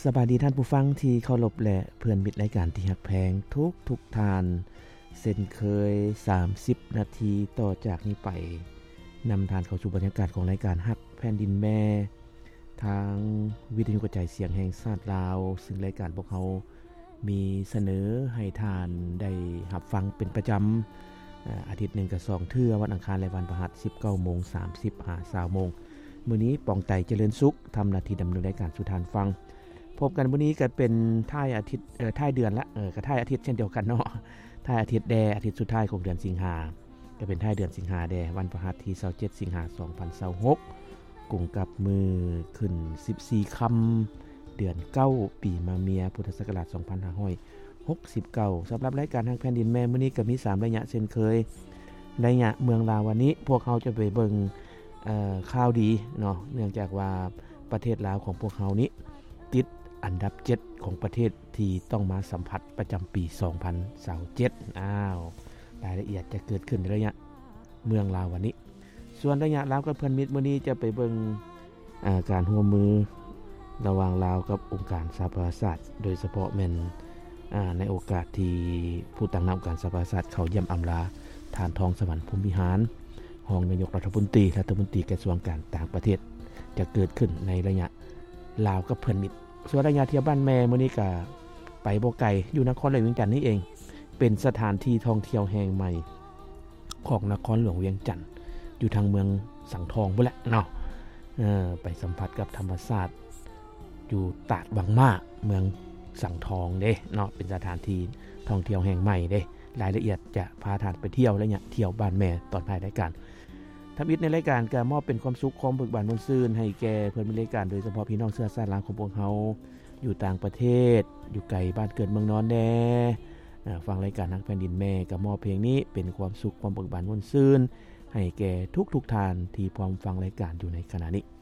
ສະບາຍດີທ່ານຜູ້ຟັງທີ່ເຄົາລົບ ແລະ ເພື່ອນມິດລາຍການທີ່ຮັກແພງທຸກໆທ່ານ. ເຊັ່ນເຄີຍ ສາມສິບນາທີຕໍ່ຈາກນີ້ໄປ ນຳທ່ານເຂົ້າສູ່ບັນຍາກາດຂອງລາຍການຮັກແຜ່ນດິນແມ່ ທາງວິທະຍຸກະຈາຍສຽງແຫ່ງຊາດລາວ, ຊຶ່ງລາຍການພວກເຮົາມີສະເໜີໃຫ້ທ່ານໄດ້ຮັບຟັງເປັນປະຈຳ ອາ ອາທິດໜຶ່ງກໍສອງເທື່ອ, ວັນອັງຄານ ແລະ ວັນພະຫັດ ສິບເກົ້າໂມງສາມສິບ ຫາ ຊາວໂມງ. ມື້ນີ້ ປອງໄຕ ຈະເລີນສຸກ ທຳໜ້າທີ່ດຳເນີນລາຍການສູ່ທ່ານຟັງ. ພົບກັນມື້ນີ້ກໍເປັນທ້າຍອາທິດ ເອີ ທ້າຍເດືອນລະ ເອີ ກໍທ້າຍອາທິດເຊັ່ນດຽວກັນເນາະ, ທ້າຍອາທິດແດ່ ອາທິດສຸດທ້າຍຂອງເດືອນສິງຫາ ກໍເປັນທ້າຍເດືອນສິງຫາແດ່, ວັນພະຫັດທີຊາວເຈັດສິງຫາສອງພັນຊາວຫົກ ກົງກັບມື້ຂຶ້ນສິບສີ່ຄ່ຳ ເດືອນເກົ້າ ປີມະເມຍ ພຸດທະສັກກະລາດສອງພັນຫ້າຮ້ອຍຫົກສິບເກົ້າ. ສຳລັບລາຍການຮັກແຜ່ນດິນແມ່ມື້ນີ້ກໍມີສາມໄລຍະເຊັ່ນເຄີຍ. ໄລຍະເມືອງລາວວັນນີ້ ພວກເຮົາຈະໄປເບິ່ງ ເອີ ຂ່າວດີເນາະ, ເນື່ອງຈາກວ່າປະເທດລາວຂອງພວກເຮົານີ້ ຕິດອັນດັບເຈັດຂອງປະເທດທີ່ຕ້ອງມາສຳຜັດປະຈຳປີສອງພັນຊາວເຈັດ. ອ້າວ ລາຍລະອຽດຈະເກີດຂຶ້ນໃນໄລຍະເມືອງລາວວັນນີ້. ສ່ວນໄລຍະລາວກັບເພື່ອນມິດ ມື້ນີ້ຈະໄປເບິ່ງ ອາ ການຮ່ວມມືລະຫວ່າງລາວກັບອົງການສະຫະປະຊາຊາດ, ໂດຍສະເພາະແມ່ນ ອາ ໃນໂອກາດທີ່ຜູ້ຕາງໜ້າອົງການສະຫະປະຊາຊາດເຂົ້າຢ້ຽມອຳລາທ່ານ ທອງສະຫວັນ ພົມວິຫານ ຮອງນາຍົກລັດຖະມົນຕີ ລັດຖະມົນຕີກະຊວງການຕ່າງປະເທດ ຈະເກີດຂຶ້ນໃນໄລຍະລາວກັບເພື່ອນມິດ. ສ່ວນໄລຍະທ່ຽວບ້ານແມ່ ມື້ນີ້ກະໄປບໍ່ໄກ ຢູ່ນະຄອນຫຼວງວຽງຈັນນີ້ເອງ, ເປັນສະຖານທີ່ທ່ອງທ່ຽວແຫ່ງໃໝ່ຂອງນະຄອນຫຼວງວຽງຈັນ ຢູ່ທາງເມືອງສັງທອງພຸ້ນແຫຼະເນາະ. ເອີ ໄປສຳຜັດກັບທຳມະຊາດຢູ່ຕາດວັງມ້າ ເມືອງສັງທອງເດ້ເນາະ, ເປັນສະຖານທີ່ທ່ອງທ່ຽວແຫ່ງໃໝ່ເດ້. ລາຍລະອຽດຈະພາທ່ານໄປທ່ຽວໄລຍະທ່ຽວບ້ານແມ່ຕອນທ້າຍລາຍການ. ທຳອິດໃນລາຍການກະມອບເປັນຄວາມສຸກ ຄວາມເບີກບານມ່ວນຊື່ນໃຫ້ແກ່ເພື່ອນມິດລາຍການ ໂດຍສະເພາະພີ່ນ້ອງເຊື້ອຊາດລາວຂອງພວກເຮົາ ຢູ່ຕ່າງປະເທດ ຢູ່ໄກບ້ານເກີດເມືອງນອນແດ່. ອາ ຟັງລາຍການຮັກແຜ່ນດິນແມ່ ກໍມອບເພງນີ້ເປັນຄວາມສຸກ ຄວາມເບີກບານມ່ວນຊື່ນໃຫ້ແກ່ທຸກໆທ່ານທີ່ພ້ອມຟັງລາຍການຢູ່ໃນຂະນະນີ້.